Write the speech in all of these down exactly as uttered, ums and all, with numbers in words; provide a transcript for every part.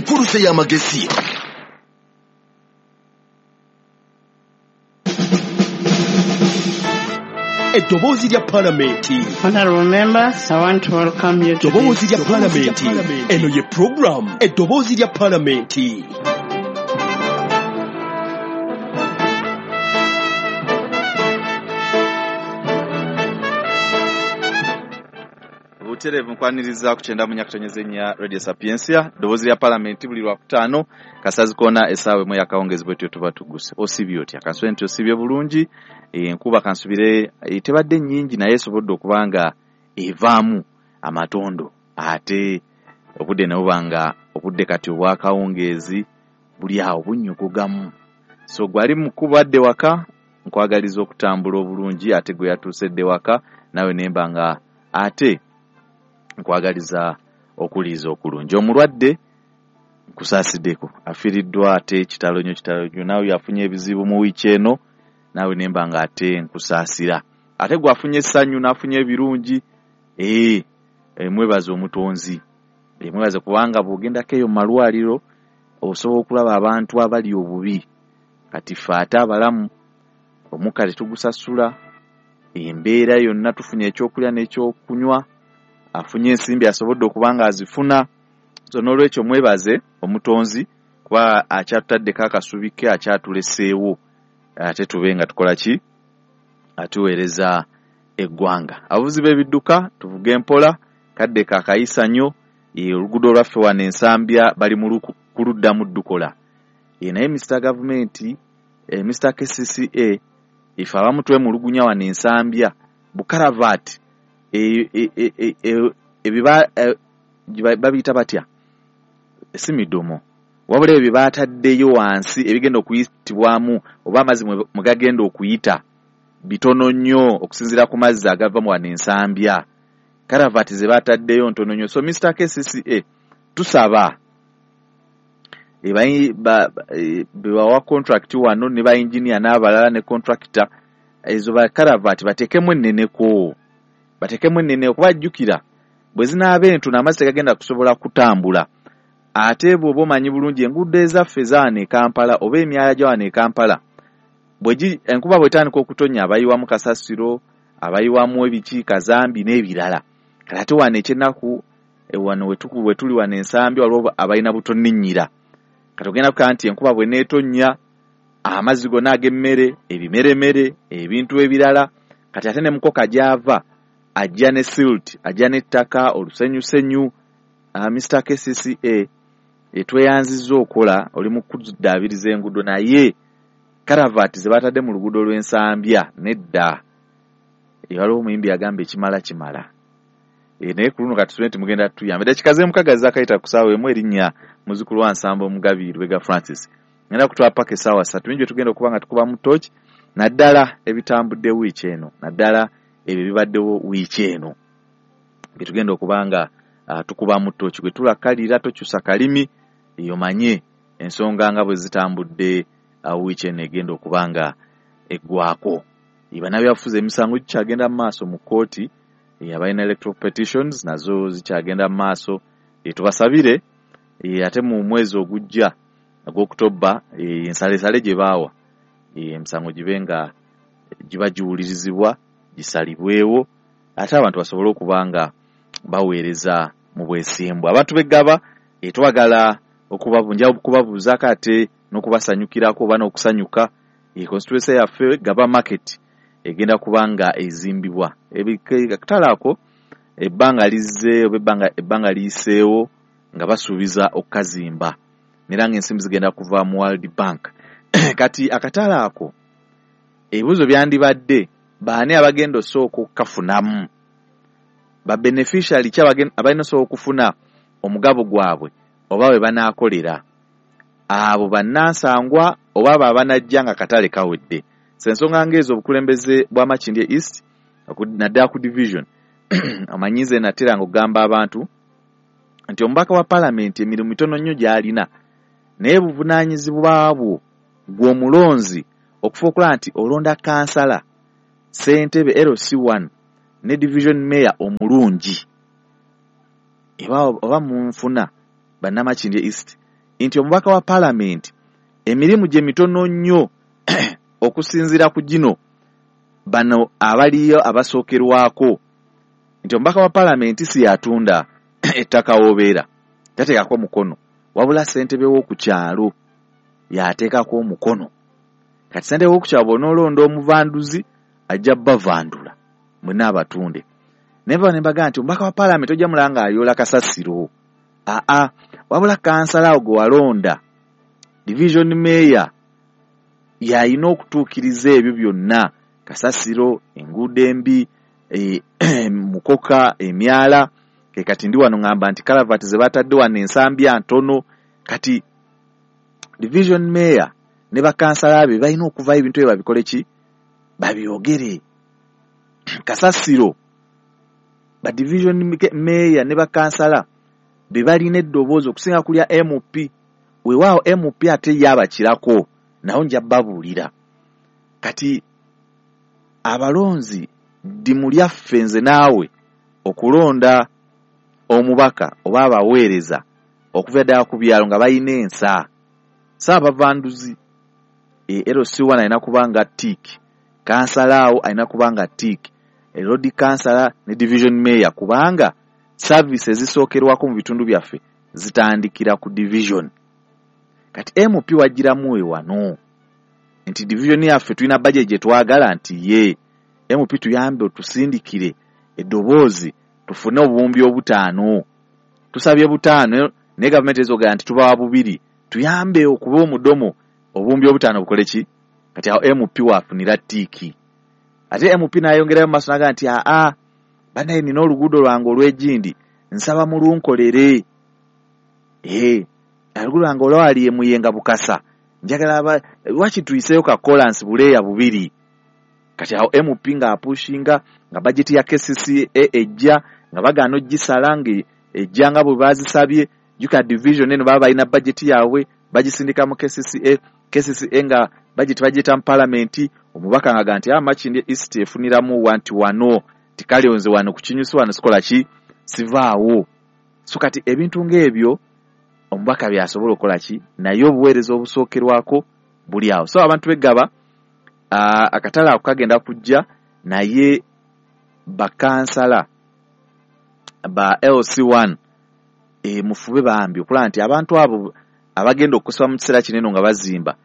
Enkuluze y'amagezi. Eddoboozi lya Palamenti. Honorable members, I want to welcome you to Eddoboozi lya Palamenti. Eno ye program Eddoboozi lya Palamenti. Butereevu nkwaniriza ku kyenda mu nyakatonyeza ennya Radio Sapientia, ddoboozi lya Palamenti buli Lwakutaano kasazi koona essaawa emu ey'akawungeezi bwetyo tuba tugguse. Osibye otya? Kansubire nti osibye bulungi. Enkuba kansubire tebadde nnyingi naye esobodde okuba nga evaamu amatondo, ate obudde ne buba nga obudde kati obwakawungeezi buli awo bunnyogogamu. So gwali mukubadde waka, nkwagaliza okutambula obulungi, ate gwe yatuuse dde waka nawe nemba nga ate nkwagaliza okuliiza okulungi. Omulwadde nkusaasiddeko, afiiriddwa ate kitalo nnyo kitalo nnyo, naawe yafunye ebizibu mu wiiki eno, naawe nemba nga ate nkusaasira. Ate gwe afunye essanyu n'afunye ebirungi, ee mwebaze omutonzi, mwebaze kubanga bw'ogendako eyo mu malwaliro osobola okulaba abantu abali obubi. Kati ffe ate abalamu omukka tetugusasula, embeera yonna tufunye ekyokulya n'ekyokunywa, afunye ensimbi asobodde okuba nga azifuna. So n'olwekyo mwebaze omutonzi kuba akyatutaddeko akasubi ke, akyatuleseewo ate tube nga tukola ki, atuweereza eggwanga. Abavuzi b'ebidduka tuvuge empola, kadde kakayisa nnyo. Oluguudo olwaffe wano Ensambya bali mu kuluddamu ddukola. Naye Mister Gavumenti, Mister K C C A, ife abamu twemulugunya wano Ensambya bukaravaati ebiba babiyita batya, si midomo, wabula ebyo bataddeyo wansi ebigenda okuyitibwamu oba amazzi mwe gagenda okuyita bitono nnyo okusinziira ku mazzi agava mu wano Ensambya. Karavaati ze bataddeyo ntono nnyo. So Mister K C C A tusaba bebawa contract wano ne ba engineer n'abalala ne contractor, ezo ba karavaati bateekemu enneneko, bateekemu ennene okubajjukira bwe zinaaba entono amazzi tegagenda kusobola kutambula. Ate bw'oba omanyi bulungi enguudo ezaffe zaano e Kampala oba emyala gya wano e Kampala, enkuba bw'etandika okutonnya abayiwamu kasasiro, abayiwamu ebiki, kazambi n'ebirala. Kale ate wano ekyennaku wano we tuli wano Ensambya waliwo abalina butonninnyira. Kati ogenda kukaa nti enkuba bw'eneetonnya amazzi gonna ag'emmere, ebimeremere, ebintu ebirala, kati ate ne mukoka gy'ava ajja ne silt, ajja n'ettaka, olusenyusenyu. uh, Mister K C C A etweyanzizza okola oli mu kuddaabiriza enguudo, naye karavaati ze batadde mu luguudo lw'Ensambya nedda. Waliwo omuyimbi agamba ekimala kimala. E, naye ku luno kati tusubire nti mugenda tuyamba. Eddakiika z'emukaga zaakayita ku ssaawa emu, erinnya muzzukulu wa Nsamba Omugabi Lubega Francis. Ngenda kutwala paka essaawa ssatu, bingi bye tugenda okuba nga tukubamu ttooki, naddala ebitambudde wiiki eno, naddala ebyo bibaddewo wiiki eno bye tugenda okuba nga uh, tukubamu ttooki. Gwe tulakalira tokyusa kalimi, omanye ensonga nga bwe zitambudde uh, wiiki eno egenda okuba nga eggwako. Bannabyabufuzi emisango gikyagenda mu maaso mu kkooti, abalina electoral petitions nazo zikyagenda mu maaso. Tubasabire ate mu mwezi ogujja ogw'Okutoba ensalesale gye baawa emisango gibe nga giba giwulirizibwa, gisalibwewo, ate abantu basobole okuba nga baweereza mu bwesimbu. Abantu b'eggaba twagala okubabuuzaako ate n'okubasanyukirako oba n'okusanyuka. Constituency yaffe Gaba Market egenda kuba nga ezimbibwa. Akatale ako ebbanga lizze oba ebbanga liyiseewo nga basuubiza okukazimba, era ng'ensimbi zigenda kuva mu World Bank. Kati akatale ako ebibuuzo byandibadde baani abagenda osooka okukafunamu, ba beneficiary ki abalina osooka okufuna omugabo gwabwe oba bwe banaakolera, abo bannansangwa oba abo abanajja nga katale kawedde. Ensonga ng'ezo obukulembeze bwa Makindye East naddala ku division amanyize nateranga okugamba abantu nti omubaka wa Palamenti emirimu mitono nnyo gy'alina, naye buvunaanyizibwa bwo gw'omulonzi okufa okulaba nti olonda kansala, ssentebe L C one ne division mayor omulungi. Oba munfuna bannamakindye East nti omubaka wa paalamenti emirimu gye mitono nnyo okusinziira ku gino bano abaliyo abasookerwako, nti omubaka wa paalamenti si yatunda ettaka w'obeera, tateekako mukono, wabula ssentebe w'oku kyalo y'ateekako omukono. Kati ssentebe w'oku kyalo bw'onoolonda omuvanduzi ajja bavandula mwenna abatunde. Naye bano ne mbagamba nti omubaka wa paalamenti ojja mulaba ng'ayoola kasasiro, aa wabula kansala awo gwe walonda division mayor y'alina okutuukiriza ebyo byonna, kasasiro, enguudo embi, e, mukoka, emyala. Ke kati ndi wano ngamba nti kalavati ze batadde wano ensambya ntono. Kati division mayor ne bakansala be balina okuvayo ebintu ebyo babikole ki, babyogere. Kasasiro ba division mayor ne bakansala be balina eddoboozi okusinga kulya M P. Weewaawo M P ate ye abakirako, nawo nja babuulira. Kati abalonzi ddimu lyaffe nze naawe okulonda omubaka oba abaweereza okuva ddala ku byalo nga balina ensa. Ssaabavanduzi e L C one alina kuba nga tick, kansala awo alina kuba nga tick, road kansala ne division mayor, kubanga services ezisookerwako mu bitundu byaffe zitandikira ku division. Kati M P wagiramu we wano nti division yaffe tulina budget gye twagala nti ye M P tuyambe otusindikire eddoboozi tufune obuwumbi obutaano, tusabye butaano naye gavumenti ezogera nti tubawa bubiri, tuyambe okuba omudomo obuwumbi obutaano bukole ki. Kati awo M P waafunira tiiki. Ate M P n'ayongerayo mu maaso n'agamba nti aa bannaye nina oluguudo lwange olw'egindi nsaba mulunkolere, ee oluguudo lwange olwali e Muyenga Bukasa njagala lwaki tuyiseeyo ka kolansi buleeya bubiri. Kati awo M P ng'apushinga nga bajeti ya K C C A ejja nga bagaana ogisala nga ejja nga bwe baazisabye. Jjukira division eno baba balina bajeti yaabwe bagisindika mu K C C A, K C C A nga bajeti bagiyita mu paalamenti, omubaka ng'agamba nti Makindye East efuniramu wa nti wano tikale nze wano ku kinyusi wano sikola ki, sivaawo. So kati ebintu ng'ebyo omubaka by'asobola okukola ki, naye obuweereza obusookerwako buli awo. So abantu b'eggaba akatale ako kagenda kujja, naye bakansala ba L C one e, mufube bambi okulaba nti abantu abo abagenda okusaba mu kiseera kino eno nga bazimba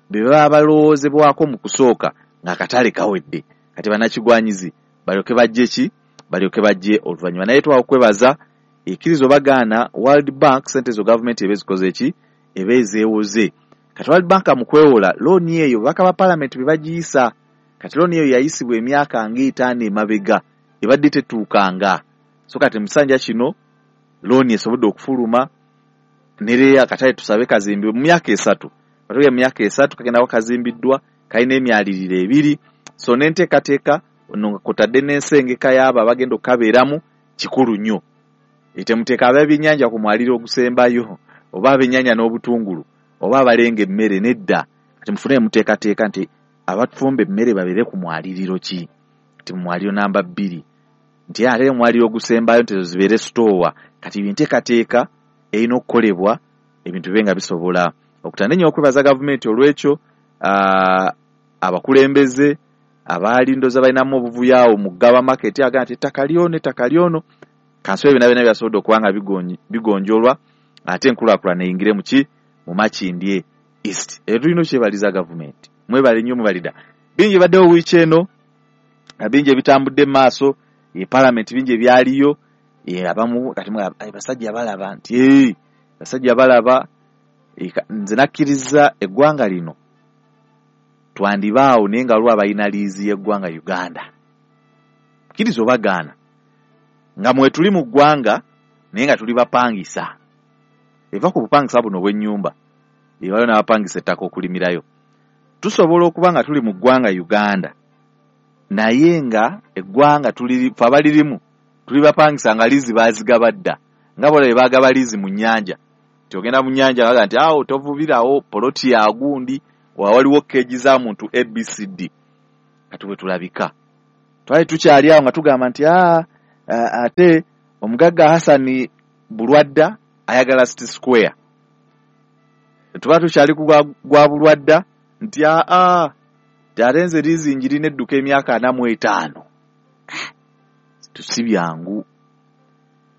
be baba balowoozebwako mu kusooka ng'akatale kawedde. Kati bannakigwanyizi balyoke bajje ki, balyoke bajje oluvannyuma. Naye twawa okwebaza ekkirizo bagaana World Bank sente zo gavumenti eba ezikoze ki, eba ezeewoze. Kati World Bank mu kwewola looni eyo babaka ba paalamenti be bagiyisa. Kati looni eyo yayisibwa emyaka ng'etaano emabega ebadde tetuukanga. So kati mu kisanja kino looni esobodde okufuluma nereya akatale tusabe kazimbibwe mu myaka esatu. Katuge mu myaka esatu kagenda kazimbiddwa, kalina emyaliriro ebiri. So n'enteekateeka ono nga kotadde n'ensengeka y'abo abagenda okukabeeramu kikulu nnyo. Temuteeka ab'ebyennyanja ku mwaliro ogusembayo oba ab'ennyanja n'obutungulu oba abalenga emmere, nedda. Kati mufune muteekateeka nti abatufumba emmere babeere ku mwaliriro ki, nti mu mwaliro namba bbiri, nti ate omwaliro ogusembayo nti ezo zibeere sitoowa. Kati enteekateeka erina okukolebwa ebintu bibe nga bisobola okutanda. Nnyo okwebaza gavumenti olw'ekyo, abakulembeze abaali ndowooza balinamu obuvuyo awo mu Ggaba Market agamba nti ettaka lyono ettaka lyono kanso ebyo byonna byasobodde okuba nga bigonjolwa ate enkulaakulana eyingire mu ki, mu Makindye East. Ebyo tulina okyebaliza gavumenti, mwebale nnyo mwebalida. Bingi ebaddewo wiiki eno, bingi ebitambudde mu maaso, e paalamenti bingi ebyaliyo. Abamu kati basajja balaba nti basajja balaba nze nakkiriza eggwanga lino twandibaawo naye nga waliwo abalina liizi y'eggwanga Uganda. Kkiriza obagaana nga mwe tuli mu ggwanga naye nga tuli bapangisa. Eva ku bupangisa buno obw'ennyumba, waliwo n'abapangisa ettaka okulimirayo. Tusobola okuba nga tuli mu ggwanga Uganda naye nga eggwanga tuli ffe abalirimu tuli bapangisa nga liizi baazigaba dda, nga bw'olaba baagaba liizi mu nnyanja. Nti ogenda mu nnyanja baga nti awo tovubirawo poloti ya gundi, waliwo keegi za muntu A B C D. Kati bwe tulabika twali tukyali awo nga tugamba nti aa ate omugagga Hassan Bulwadda ayagala City Square. Tuba tukyali ku gwa Bulwadda nti aa ate nze liizi njirina edduka emyaka ana mu etaano. Si byangu.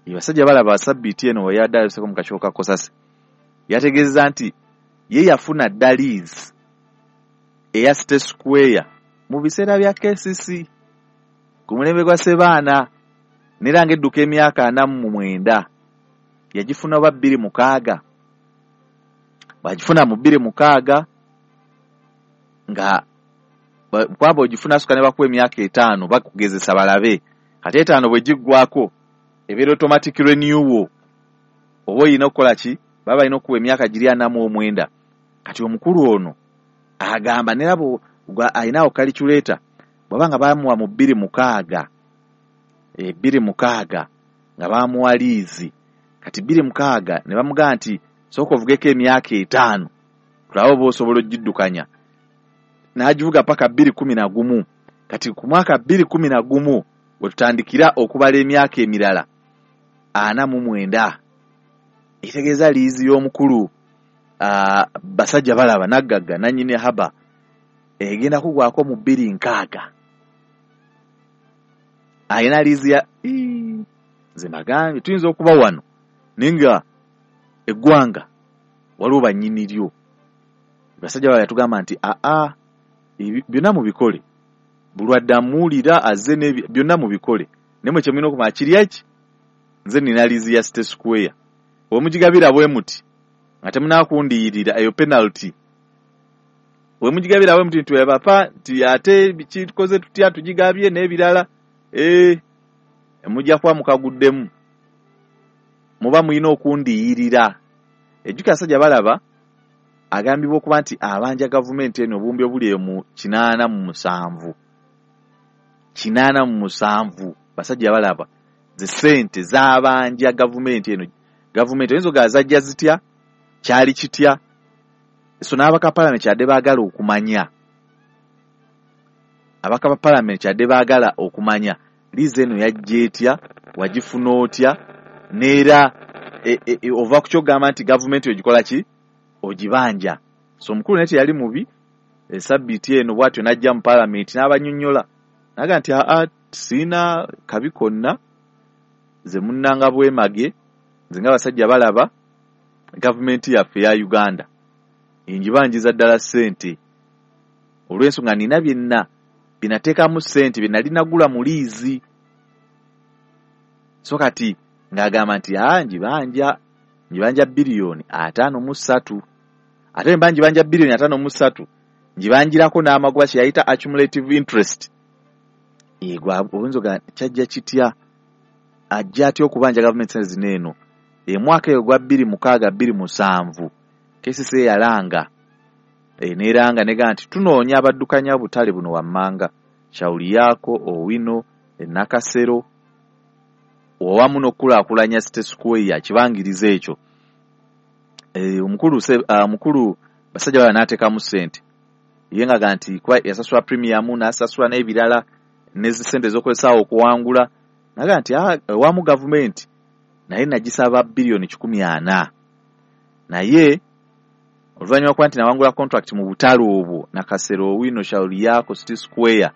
Basajja balaba sabbiiti eno we yadde alabiseko mu kakiiko ka Kosase yategeeza nti ye yafuna dda liizi eya City Square mu biseera bya K C C ku mulembe gwa Ssebaana n'era ng'edduka emyaka ana mu mwenda yagifuna oba bbiri mukaaga bw'agifuna mu bbiri mukaaga nga kwaba ogifuna asuka ne bakuwa emyaka etaano bakugezesa balabe kati etaano bwe giggwako ebeera automatic renewal oba oyina okukola ki baba balina okuwa emyaka giri ana mu omwenda. Kati omukulu ono agamba nera alinawo calculator bw'aba nga baamuwa mu bbiri mukaaga bbiri mukaaga nga baamuwa liizi kati bbiri mukaaga ne bamugamba nti sooka ovugeko emyaka etaano tulabe oba osobola ogiddukanya n'agivuga paka bbiri kumi na gumu. Kati ku mwaka bbiri kumi na gumu we tutandikira okubala emyaka emirala ana mu mwenda ekitegeeza liizi y'omukulu basajja balaba naggagga nannyini haba egenda kugwako mu bbiri nkaaga alina liizi ya nze mbagambye tuyinza okuba wano naye nga eggwanga waliwo bannyini lyo. Basajja balaba yatugamba nti aa byonna mubikole Bulwadde amuwulira azze byonna mubikole naye mwe kye mulina okumanya kiri eki nze nina liizi ya City Square bwe mugigabira bwe muti nga temunaakundiyirira eyo penalty bwe mugigabira bwe muti nti webapa nti ate kikoze tutya tugigabye n'ebirala ee mujja kuba mukaguddemu muba mulina okundiyirira. Ejjukira basajja balaba agambibwa okuba nti abanja gavumenti eno obuwumbi obuli eyo mu kinaana mu musanvu kinaana mu musanvu basajja balaba ze ssente z'abanja gavumenti eno. Gavumenti oyinza ogamba zajja zitya kyali kitya so n'abaka palamenti kyadde baagala okumanya abaka ba palamenti kyadde baagala okumanya liizi eno yajja etya wagifuna otya n'era e, e, e, ova ku ky'ogamba nti gavumenti ogikola ki ogibanja. So omukulu naye teyali mubi esabbiiti eno bw'atyo n'ajja mu palamenti n'abannyonnyola n'agamba nti aa siina kabi konna nze munnanga bwemage nze nga basajja balaba gavumenti yaffe eya Uganda enjibanjiza ddala ssente olw'ensonga nina byenna binateekamu ssente bye nali nagula mu liizi. So kati ng'agamba nti aa njibanja njibanja biliyoni ataano mu ssatu ate mba njibanja biliyoni ataano mu ssatu njibanjirako n'amagoba kye yayita accumulative interest. Egwa oyinza ogamba kyajja kitya ajja atya okubanja gavumenti ssente zino eno emwaka eyo gwa bbiri mukaaga bbiri musanvu K C C yalanga e, n'eranga negamba nti tunoonya abaddukanya obutale buno wammanga Shauri Yako Owino Nakasero owamu n'okukulaakulanya City Square kibangiriza ekyo. E, omukulu omukulu basajja bala n'ateekamu ssente ye ng'agamba nti kuba yasasula premium n'asasula n'ebirala ne ssente ez'okukozesa okuwangula n'agamba nti ewamu gavumenti naye nagisaba biliyoni kikumi ana naye oluvannyuma kuba nti nawangula contract mu butale obwo Nakasero Owino Shauri Yako City Square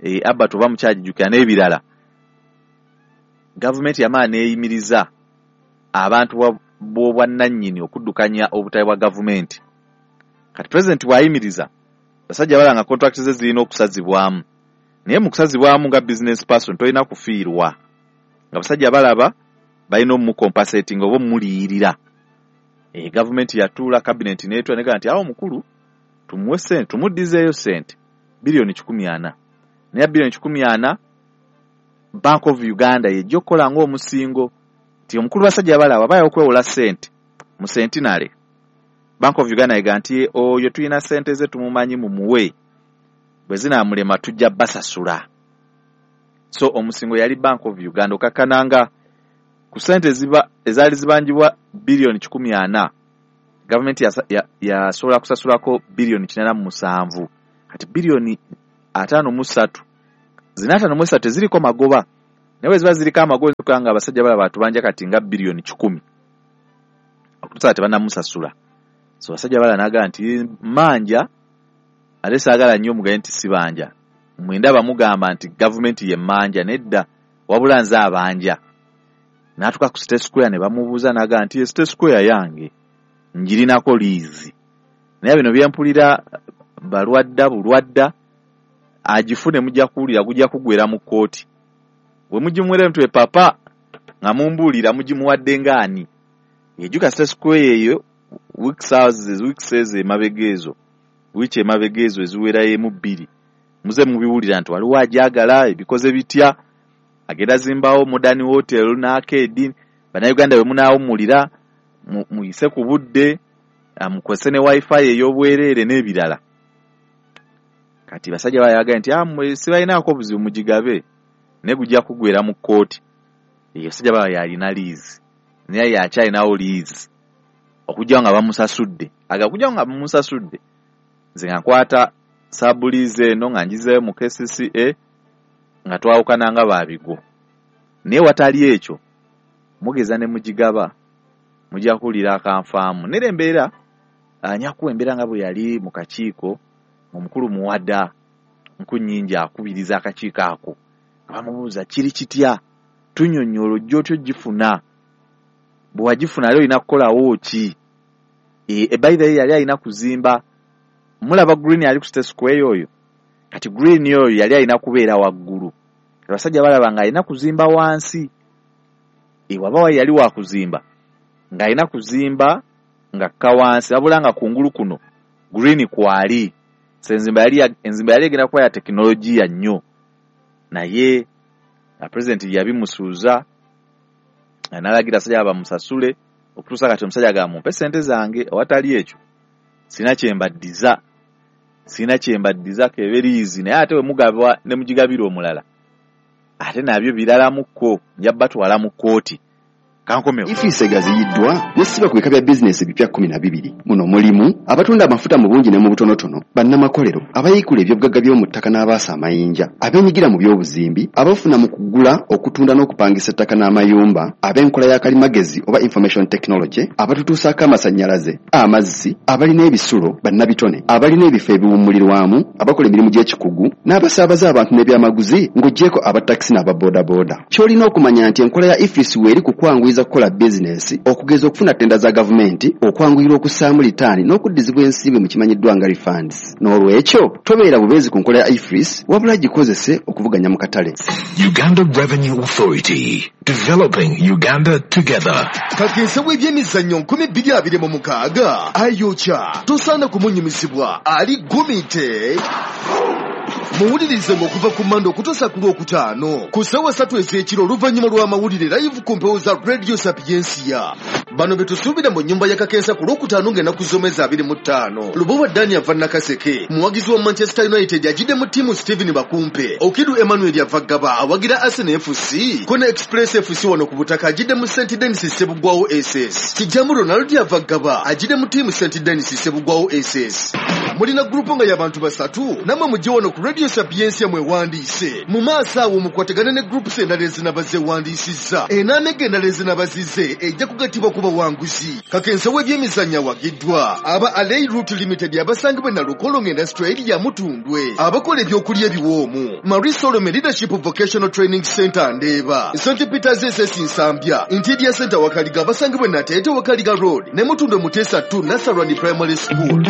e, Abat oba mukyagijjukira n'ebirala gavumenti yamala n'eyimiriza abantu b'obwannannyini okuddukanya obutale bwa gavumenti. Kati pulezidenti bw'ayimiriza basajja balaba nga contract ze zirina okusazibwamu naye mu kusazibwamu nga business person tolina kufiirwa nga basajja balaba balina omumucompensating oba omuliyirira. E, gavumenti yatuula cabinet n'etuula negamba nti awo omukulu tumuwe ssente tumuddizeeyo ssente biliyoni kikumi ana naye biliyoni kikumi ana Bank of Uganda yejja okukola ng'omusingo nti omukulu basajja balaba baaya okwewola ssente mu Centenary. Bank of Uganda egamba nti oyo tulina ssente ze tumumanyi mumuwe bwe zinaamulema tujja basasula. So omusingo yali Bank of Uganda okakkananga ku ssente ezaali zibanjibwa biliyoni kikumi ana gavumenti yasobola kusasulako biliyoni kinaana mu musanvu kati biliyoni ataano mu ssatu zina ataano mu essatu teziriko magoba naye bwe ziba ziriko amagoba nga abasajja balaba batubanja kati nga biliyoni kikumi okutuusa tebannamusasula. So basajja bala naga nti manja ate saagala nnyo mugaye nti sibanja. Mwenda bamugamba nti gavumenti ye manja nedda wabula nze abanja. N'atuuka ku State Square ne bamubuuza naga nti State Square yange ngirinako liizi. Naye bino byempulira balwadda bulwadda agifune mujja kuwulira gujja kugwera mu kkooti. Bwe mugimuwera mutwe papa nga mumbuulira mugimuwadde ng'ani. Ejjuka State Square eyo weeks houses weeks emabega ezo wiiki emabega ezo eziwerayo emu bbiri muze mubiwulira nti waliwo agyagala ebikoze bitya agenda zimbawo modern hotel n'arcade. Bannayuganda bwe munaawummulira muyise ku budde mukozese ne wifi ey'obwereere n'ebirala. Kati basajja bayagala nti mmwe sibalinaako buzibu mugigabe naye gujja kugwera mu kkooti. Eyo basajja baba yalina liizi naye yakyalinawo liizi okujja nga bamusasudde. Aga kujja nga bamusasudde nze nga nkwata sabuliizi eno nga ngizeeyo mu K C C A nga twawukana nga baabigo. Naye watali ekyo mugeza ne mugigaba mujja kuwulira akanfaamu. Nera embeera anyakuwa embeera nga bwe yali mu kakiiko omukulu Muwada Nkunnyingi akubiriza akakiiko ako nga bamubuuza kiri kitya tunnyonnyola ojja otya ogifuna bwe wagifuna ali olina kukolawo ki. E, by the way yali alina kuzimba mulaba Green ali ku State Square oyo. Kati Green oyo yali alina kubeera waggulu. Abasajja balaba nga alina kuzimba wansi. E, waba yali wa kuzimba nga alina kuzimba nga kka wansi wabula nga kungulu kuno Green kwali. Enzimba yali enzimba yali egenda kuba ya tekinologiya nnyo naye president yabimusuuza n'alagira abasajja bamusasule okutuusa kati omusajja agamba mumpe ssente zange awatali ekyo sina kye mbaddiza sina kye mbaddiza keberiizi. Naye ate bwe mugaba ne mugigabira omulala ate nabyo biralamukko nja batwala mu kkooti. Ifiisi egaziyiddwa nesiba ku bika bya bizinesi ebipya kkumi na bibiri. Muno mulimu abatunda amafuta mu bungi ne mu butonotono, bannamakolero, abayiikula ebyobugagga by'omu ttaka n'abaasa amayinja, abeenyigira mu by'obuzimbi, abafuna mu kugula, okutunda n'okupangisa ettaka n'amayumba, ab'enkola ya kalimagezi oba information technology, abatutuusaako amasannyalaze, amazzi, abalina ebisulo, bannabitone, abalina ebifo ebiwummulirwamu, abakola emirimu gy'ekikugu, n'abasaabaza abantu n'ebyamaguzi ng'oggyeko abatakisi n'ababoodabooda. Ky'olina okumanya nti enkola ya Ifisi weeri ku kwanguyiza kukola bizinesi, okugeza okufuna ttenda za gavumenti, okwanguyirwa okussaamu litaani n'okuddizibwa ensimbi mu kimanyiddwa nga refunds. N'olwekyo tobeera bubeezi ku nkola ya Ifris wabula gikozese okuvuganya mu katale. Uganda Revenue Authority, developing Uganda together. Kakensa w'ebyemizannyo nkumi bbiri abiri mu mukaaga ayokya tosaana kumunyumizibwa ali gumite. Muwulirize ng'okuva ku Mande okutuusa ku Lwokutaano ku ssaawa ssatu ez'ekiro oluvannyuma lw'amawulire live ku mpewo za Radio Sapiensia. Bano be tusuubira mu nnyumba ya Kakensa ku Lwokutaano ng'ennaku z'omwezi abiri mu ttaano. Lubowa Dani ava Nakaseke, muwagizi wa Manchester United ajidde mu ttiimu Stephen Bakumpe. Okidu Emmanuel ava Ggaba awagira Arsenal F C. Kona Express F C wano ku butaka ajidde mu Saint Denis Ssebugwawo S S. Kijamu Ronald ava Ggaba ajidde mu ttiimu Saint Denis Ssebugwawo S S. Mulina gurupu nga y'abantu basatu nammwe mujje wano ku Radio Sapiensia mwewandiise. Mu maaso awo mukwatagane ne groups endala ezinaba zeewandiisizza. Enaamega endala ezinaba zizze ejja kugattibwa ku bawanguzi. Kakensa w'ebyemizannyo awagiddwa aba Alei Route Limited abasangibwa e Nalukolongo Industrial Area Mutundwe, abakola ebyokulya ebiwoomu, Marie Solomon Leadership Vocational Training Center Ndeeba, Saint Peters S S Nsambya, Interior Center Wakaliga abasangibwa e Nateete Wakaliga Road ne Mutundwe Muteesa two Nasarani Primary School.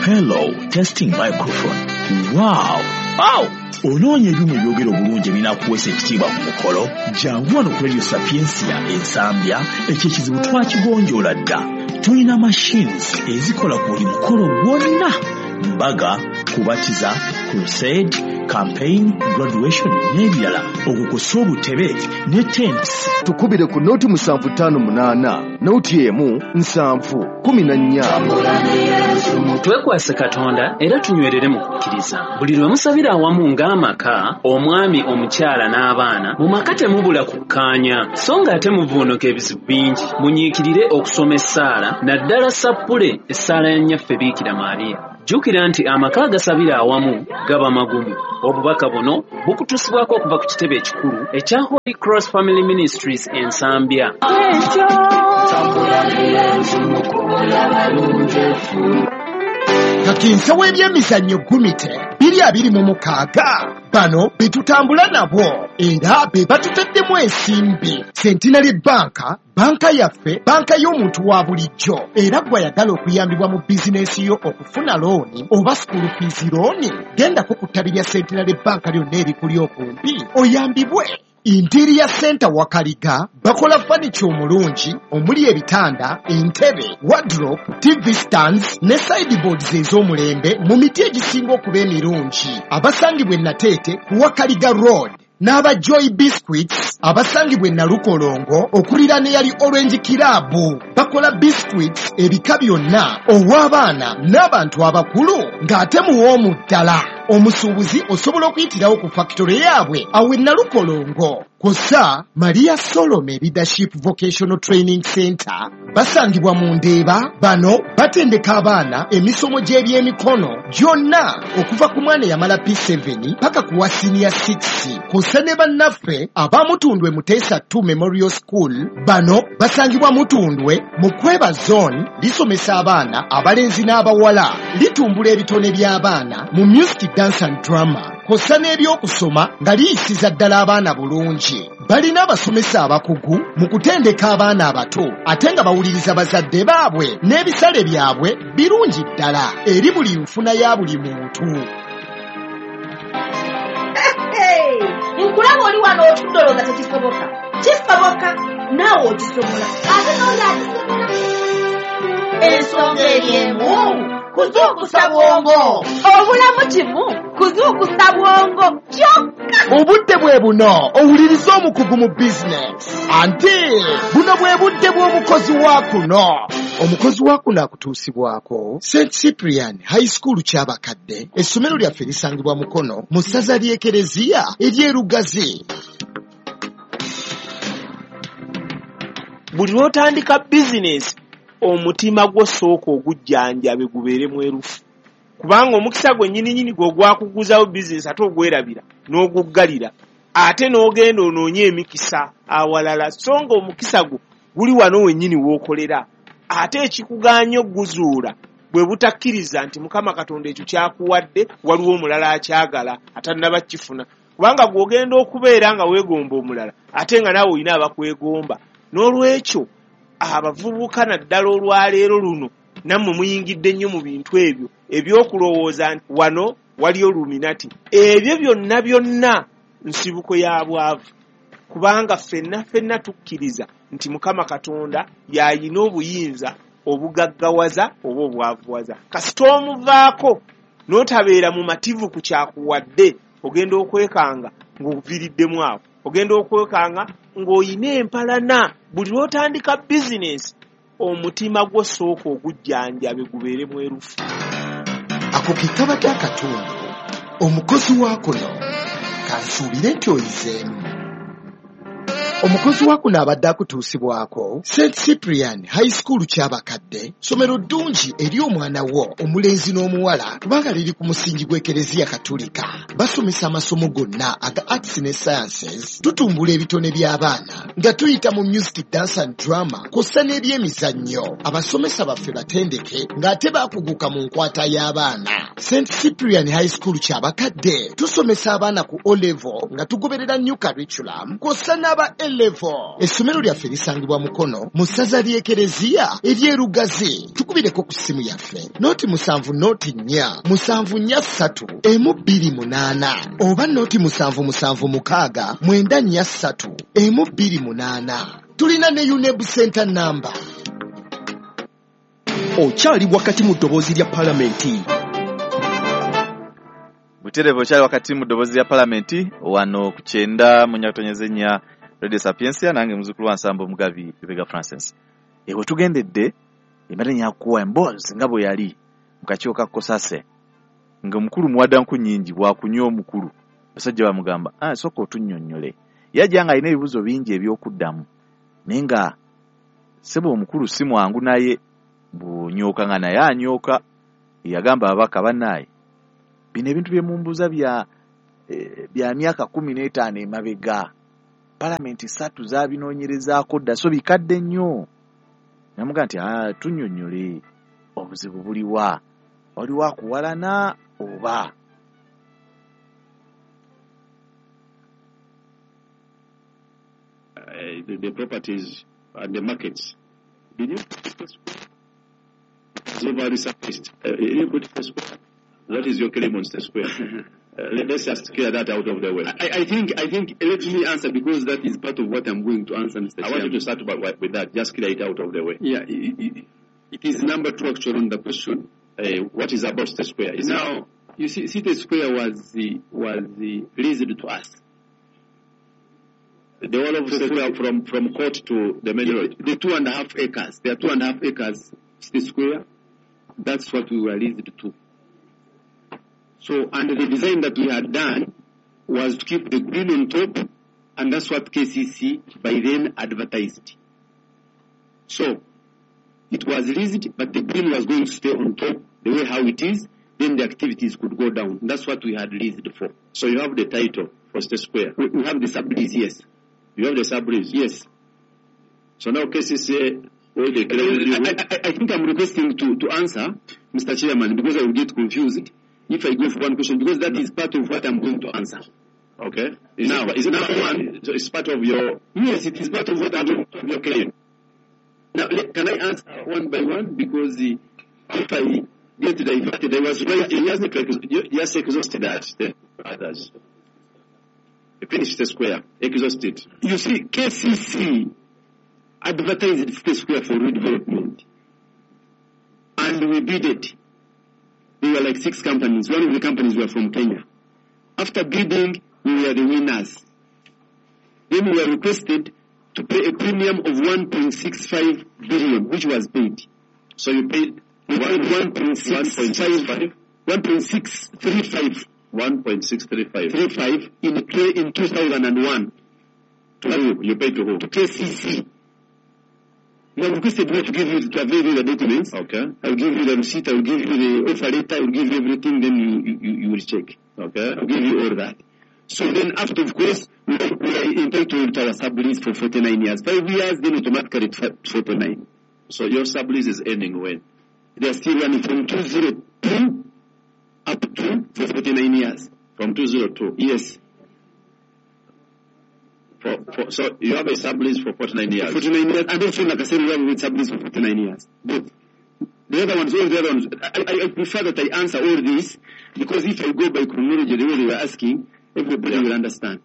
Hello, testing microphone. Wow! Wow! Onoonya ebyuma ebyogera obulungi ebinaakuweesa ekitiibwa ku mukolo? Jangu wano ku Radio Sapiensia Ensambya, ekyo ekizibu twakigonjoola dda. Tulina machines ezikola ku buli mukolo gwonna: mbaga, kubatiza, crusade, campaign, graduation n'ebirala. Okukosa obutebe ne tents. Tukubire ku noti musanvu ttaano munaana noti emu nsanvu kumi na nnya. Twekwase Katonda era tunywerere mu kukkiriza. Buli lwe musabira awamu ng'amaka, omwami, omukyala n'abaana, mu maka temubula kukkaanya, so ng'ate muvuunuka ebizibu bingi. Munyiikirire okusoma essaala, naddala sappule essaala ya Nnyaffe Biikira Maria. Jjukira nti amaka agasabira awamu gaba magumu. Obubaka buno bukutuusibwako okuva ku kitebe ekikulu ekya Holy Cross Family Ministries Ensambya. Kakinsa w'ebyemizannyo Gumite biri abiri mu mukaaga bano be tutambula nabo era be batutaddemu ensimbi. Centenary Bank, banka yaffe, banka y'omuntu wa bulijjo, era gw'ayagala okuyambibwa mu bizinensi yo okufuna looni oba school fees looni, gendako ku ttabi lya Centenary Bank lyonna erikuli okumpi oyambibwe. Interior Center Wakaliga bakola furniture omulungi omuli ebitanda, entebe, wardrobe, T V stands ne sideboards ez'omulembe mu miti egisinga okuba emirungi. Abasangibwa e Nateete ku Wakaliga Road n'aba Joy Biscuits abasangibwa e Nalukolongo okuliraana eyali Orange Club bakola biscuits ebika byonna ow'abaana n'abantu abakulu ng'ate muwoomu ddala. Omusuubuzi osobola okuyitirawo ku factory yaabwe awo e Nalukolongo. Kw'ossa Maria Solome Leadership Vocational Training Center basangibwa mu Ndeeba. Bano batendeka abaana emisomo gy'ebyemikono gyonna okuva ku mwana eyamala P seven paka ku wa senior six. Kw'ossa ne bannaffe aba Mutundwe Muteesa two Memorial School, bano basangibwa Mutundwe mu Kweba Zone, lisomesa abaana abalenzi n'abawala, litumbula ebitone by'abaana mu music, dance and drama, kw'ossa n'ebyokusoma nga liyisiza ddala abaana bulungi. Balina abasomesa abakugu mu kutendeka abaana abato ate nga bawuliriza bazadde baabwe n'ebisale byabwe birungi ddala eri buli nfuna ya buli muntu. Nkulaba oli wano otudde olowooza tekisoboka. Kisoboka, naawe okisobola, ate n'oli akisobola. Ensonga eri emu, kuzuukusa bwongo. Obulamu kimu, kuzuukusa bwongo kyokka. Obudde bwe buno owuliriza omukugu mu bizinesi, anti buno bwe budde bw'omukozi wa kuno. Omukozi wa kuno akutuusibwako Saint Cyprian High School Kyabakadde. Essomero lyaffe lisangibwa Mukono mu ssaza ly'Ekereziya ery'e Lugazi. Buli lw'otandika bizinesi omutima gwo sooka ogujjanjabe gubeere mwerufu, kubanga omukisa gwe nnyini gwe ogwakuguzawo bizinesi ate ogwerabira n'oguggalira ate n'ogenda onoonye emikisa awalala, so nga omukisa gwo guli wano wennyini w'okolera. Ate ekikugaanya okuguzuula bwe butakkiriza nti Mukama Katonda ekyo kyakuwadde waliwo omulala akyagala atannaba kukifuna, kubanga gw'ogenda okubeera nga weegomba omulala ate nga naawe olina abakwegomba. N'olwekyo abavubuka naddala olwaleero luno nammwe muyingidde nnyo mu bintu ebyo ebyokulowooza nti wano waliyo Illuminati. Ebyo byonna byonna nsibuko ya bwavu, kubanga ffenna ffenna tukkiriza nti Mukama Katonda y'alina obuyinza obugaggawaza oba obwavuwaza. Kasita omuvaako n'otabeera mumativu ku kyakuwadde, ogenda okwekanga ng'oviiriddemu awo, ogenda okwekanga ng'oyina empalana. Buli lw'otandika bizinesi omutima gwo sooka ogujjanjabe gubeere mwerufu. Ako ke kabadde akatundu omukozi wa kuno kansuubire nti oyizeemu. Omukozi wa kuno abadde akutuusibwako Saint Cyprian High School Kyabakadde, ssomero ddungi eri omwana wo omulenzi n'omuwala kubanga liri ku musingi gw'Ekereziya Katolika. Basomesa amasomo gonna aga arts ne sciences, tutumbula ebitone by'abaana nga tuyita mu music, dance and drama kw'ossa n'ebyemizannyo. Abasomesa baffe batendeke ng'ate baakuguka mu nkwata y'abaana. Saint Cyprian High School Kyabakadde tusomesa abaana ku O level nga tugoberera new curriculum kw'ossa n'aba A level. Essomero lyaffe lisangibwa Mukono mu ssaza ly'Ekereziya ery'e Lugazi. Tukubireko ku ssimu yaffe noti musanvu noti nnya musanvu nnya ssatu emu bbiri munaana oba noti musanvu musanvu mukaaga mwenda nnya ssatu emu bbiri munaana. Tulina ne UNEB Center number. Okyali wakati mu ddoboozi lya Palamenti. Butereevu okyali wakati mu ddoboozi lya Palamenti wano ku kyenda mu nyakatonyeze nnya Radio Sapientia, nange muzukulu wa Nsambo Mugabi Lubega Francis. Ewe tugendedde embadde nyakuwa emboozi nga bwe yali mu kakiiko ka Kosase, nga omukulu muwadda nku nnyingi bw'akunywa omukulu. Basajja bamugamba, ah, sooka otunnyonnyole. Yajja ng'alina ebibuuzo bingi eby'okuddamu, naye nga ssebo omukulu si mwangu naye bw'onyooka nga naye anyooka. Yagamba ababaka bannaaye, bino ebintu bye mumbuuza bya eh, bya myaka kkumi n'etaano emabega, Palamenti ssatu zaabinoonyerezaako dda, so bikadde nnyo. Namuga nti ah, tunnyonnyole obuzibu buliwa, waliwo akuwalana oba? Uh, the, the properties and the markets. Did you so resurfaced? Uh, you put the square. What is your claim on the square? Uh, let's just clear that out of the way. I, I think, I think, let me answer because that is part of what I'm going to answer, Mister I Chairman. want you to start by, with that. Just clear it out of the way. Yeah, it, it, it is number two actually on the question. Uh, what is about the square? Is now, it? You see, City Square was the, was the leased to us. The whole of the square from, from court to the main road? The two and a half acres. There are two and a half acres, City Square. That's what we were leased to. So, and the design that we had done was to keep the green on top, and that's what K C C by then advertised. So, it was leased, but the green was going to stay on top the way how it is, then the activities could go down. That's what we had leased for. So you have the title for the square? We, we have the sublease, yes. You have the sublease? Yes. So now K C C... I, I, I think I'm requesting to, to answer, Mister Chairman, because I will get confused if I go for one question, because that is part of what I'm going to answer. Okay. Is now, it, is it now part, one, so it's part of your... Yes, it is part of what I'm going to your claim. Now, can I answer one by one? Because the, if I get diverted, I was writing... You just exhausted that, the others. You finished the square, exhausted. You see, K C C advertised City Square for redevelopment. And we bid it. There were like six companies. One of the companies were from Kenya. After bidding, we were the winners. Then we were requested to pay a premium of one point six five billion, which was paid. So you paid We paid one point six five, one point six three five. one point six three five. three five in, in two thousand one. To who? You paid to who? To K C C. You have requested me to give you, to avail you the documents. Okay. I will give you the receipt, I will give you the offer letter, I will give you everything, then you, you, you will check. Okay. I will give you all that. So then after, of course, we are, we are entitled to our sublease for forty-nine years. Five years, then automatically forty-nine. So your sublease is ending when? They are still running from two thousand two up to for forty-nine years. From two thousand two? Yes. For, for, so you have a sublease for forty-nine years? forty-nine years, and also Nakasero, we have a sublease for forty-nine years. Both. The other ones, all the other ones, I, I, I prefer that I answer all this, because if I go by chronology, the way they were asking, everybody yeah. will understand.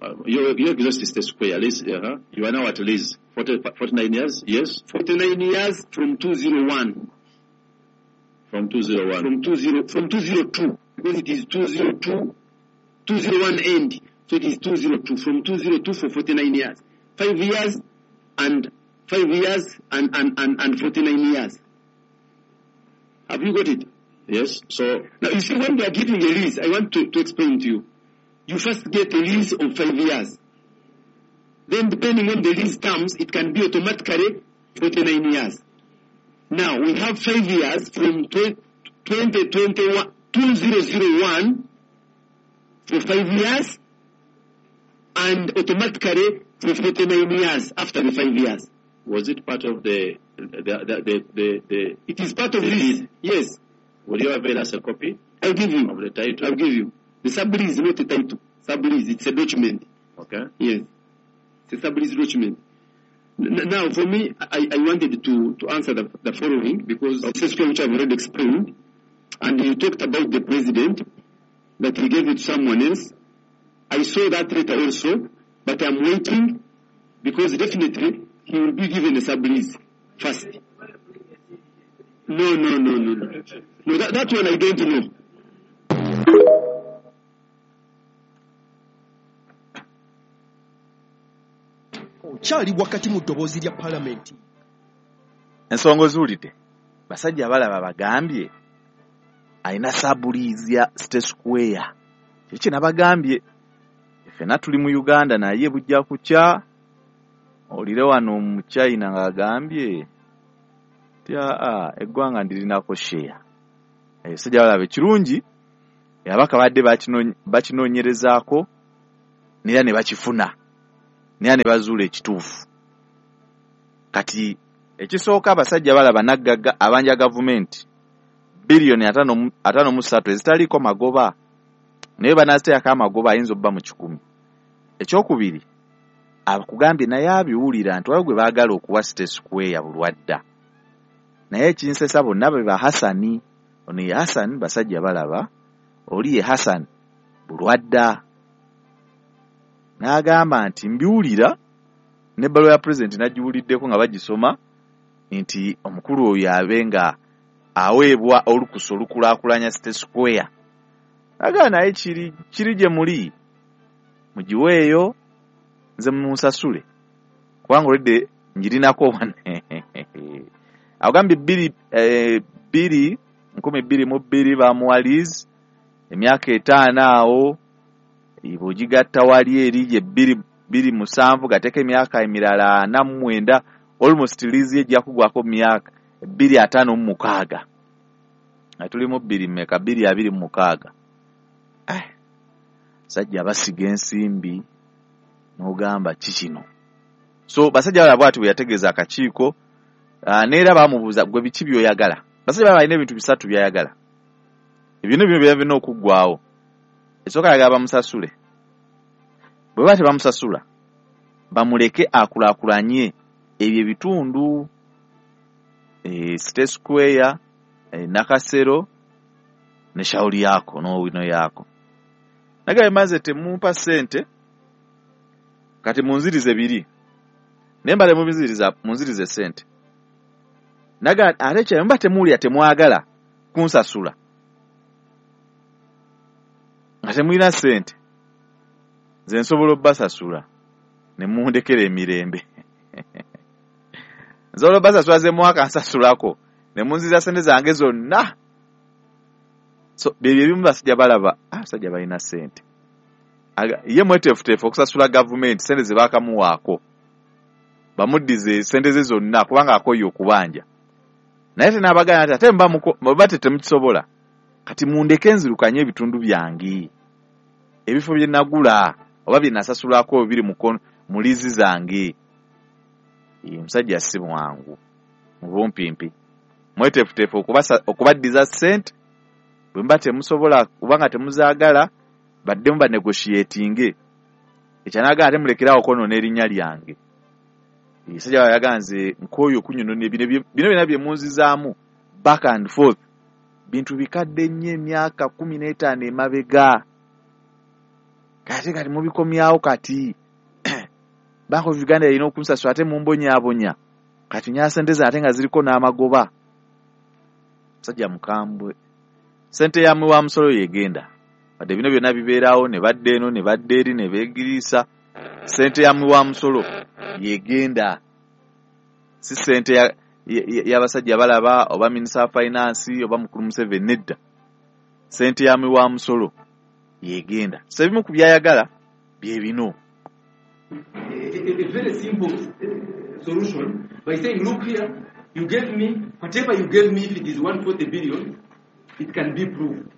Uh, you, you exhausted the square. Lease, uh-huh. You are now at lease. forty, forty-nine years, yes? forty-nine years from two thousand one. From two thousand one. From, two zero, from two thousand two, because it is two thousand two, two thousand one end. So it is two thousand two, from two thousand two for forty-nine years. Five years and five years and, and, and, and forty-nine years. Have you got it? Yes. So now you see, when they are giving a lease, I want to, to explain to you. You first get a lease of five years. Then depending on the lease terms, it can be automatically forty-nine years. Now we have five years from twenty twenty-one, two thousand one for five years, and automatically for forty-nine years after the five years. Was it part of the the the the, the, the It is part of this. Yes. Will you avail us a copy? I'll give you. Of the title? I'll give you. The sublease is not a title. Sublease, it's a document. Okay. Yes. It's a sublease document. N- now, for me, I, I wanted to, to answer the, the following, because okay. This which I've already explained, and you talked about the president, that he gave it to someone else. I saw that letter also, but I'm waiting, because definitely he will be given a sublease first. No, no, no, no, no. No, that, that one I don't know. Okyali wakati mu ddoboozi lya Paalamenti. Ensonga ozuulidde, basajja balaba bagambye alina sublease ya City Square. Kiki nabagambye, ffenna tuli mu Uganda naye bujja kukya. Olire wano mu China ng'agambye nti aa eggwanga ndirinako share. Ebisajja balaba ekirungi ababaka badde bakinoonyerezaako era ne bakifuna, era ne bazuula ekituufu. Kati Ekisooka, abasajja balaba naggagga abanja gavumenti biliyoni ataano mu ssatu ezitaliiko magoba, naye banaaziteekako amagoba ayinza obba mu kikumi. Ekyokubiri, akugambye naye abiwulira nti waliwo gwe baagala okuwa City Square Bulwadda, naye ekinsesa bonna be ba Hasani. Ono ye Hasani basajja balaba, oli ye Hasani Bulwadda. N'agamba nti mbiwulira n'ebbaluwa ya pulezidenti nagiwuliddeko nga bagisoma nti omukulu oyo abe nga aweebwa olukusa olukulaakulanya City Square. N'agamba naye kiri kiri gye muli, mugiweeyo nze munsasule kubanga olwedde ngirinako wane. Agambye bbiri eh, bbiri nkumi bbiri mu bbiri bamuwa lease emyaka etaano awo, bw'ogigatta wali eri gye bbiri bbiri musanvu gateeka emyaka emirala ana mu mwenda, almost lease ejja kugwako myaka bbiri ataano mu mukaaga. Nga tuli mu bbiri mmeka? Bbiri abiri mu mukaaga. Eh, basajja basiga ensimbi n'ogamba ki kino. So basajja balaba bw'ati bwe yategeeza akakiiko, uh, n'era baamubuuza gwe biki by'oyagala. Basajja balaba alina ebintu bisatu by'ayagala. Ebintu bino byonna birina okuggwaawo. Ekisooka ayagala bamusasule. Bwe baba tebamusasula, bamuleke akulaakulanye ebyo ebitundu, e, City Square, e, Nakasero ne Shauri yako n'Owino yako. Nagaye maze temumpa ssente, kati munzirize biri. Naye mbale mubinziriza, munzirize ssente. Naga ate kye mba temuwulira temwagala kunsasula, nga temulina ssente, nze nsobola obbasasula ne mundekera emirembe. Nsobola obbasasula ze mwaka nsasulako ne munziriza ssente zange zonna. So byebyo ebimu basajja balaba, abasajja balina ssente. Ye mweteefuteefu okusasula gavumenti ssente ze baakamuwaako, bamuddize ssente ze zonna kubanga akooye okubanja. Naye tenaabagamba nti ate mba temukisobola, kati mundeke nzirukanye ebitundu byange, ebifo bye nagula oba bye nasasulako biri mu liizi zange. Omusajja si mwangu mu bumpimpi, mweteefuteefu okubaddiza ssente. Bwe mba temusobola kubanga temuzaagala, baddemu banegotiatinge. Ekyanagala ate mulekerawo okwonoona erinnya lyange. Musajja yagamba nze nkooye okunyonona bino bino byonna bye munzizaamu back and forth, bintu bikadde nnyo emyaka kkumi n'etaano emabega, kati kati mubikomyawo kati. Bank of Uganda erina okunsasula ate mumbonyaabonya, kati nya ssente zange ate nga ziriko n'amagoba. Musajja mukambwe, ssente ya muwa musolo yegenda. Wadde bino byonna bibeerawo ne badda eno ne badda eri ne beegiriisa, ssente ya muwa musolo yegenda, si ssente y'abasajja balaba oba minisita wa finance oba mukulu Museveni, nedda. Ssente ya muwa musolo yegenda. So ebimu ku byayagala bye bino. A, a very simple uh, solution by saying, look here, you gave me, whatever you gave me, if it is one hundred forty billion, it can be proved.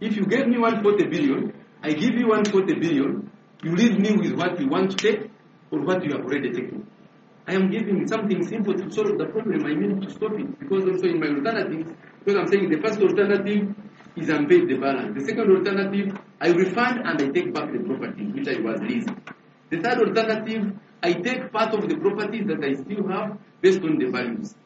If you gave me one hundred forty billion, I give you one hundred forty billion, you leave me with what you want to take or what you have already taken. I am giving something simple to solve the problem. I mean to stop it, because also in my alternatives, because I'm saying the first alternative is unpaid the balance. The second alternative, I refund and I take back the property which I was leasing. The third alternative, I take part of the properties that I still have based on the values.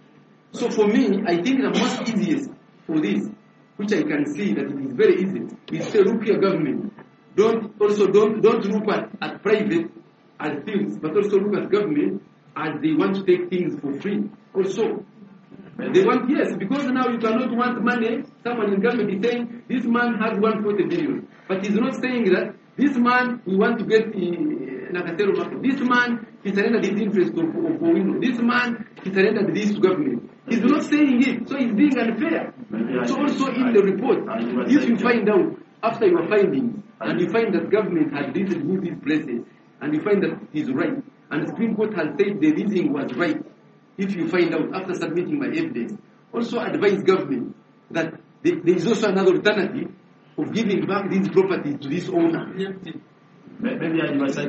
So for me, I think the most easiest for this, which I can see that it is very easy, is say, look here, government, don't also don't don't look at, at private as things, but also look at government as they want to take things for free. Also, they want, yes, because now you cannot want money. Someone in government is saying, this man has one hundred forty billion, but he's not saying that this man, we want to get the Nakasero market. This man, he surrendered his interest of, of Owino. This man, he surrendered this to government. He's not saying it, so he's being unfair. So also in the report, if you find out, after your findings, and you find that government has leased me these places, and you find that he's right, and the Supreme Court has said the leasing was right, if you find out after submitting my evidence, also advise government that there is also another alternative of giving back these properties to this owner. Maybe I must say,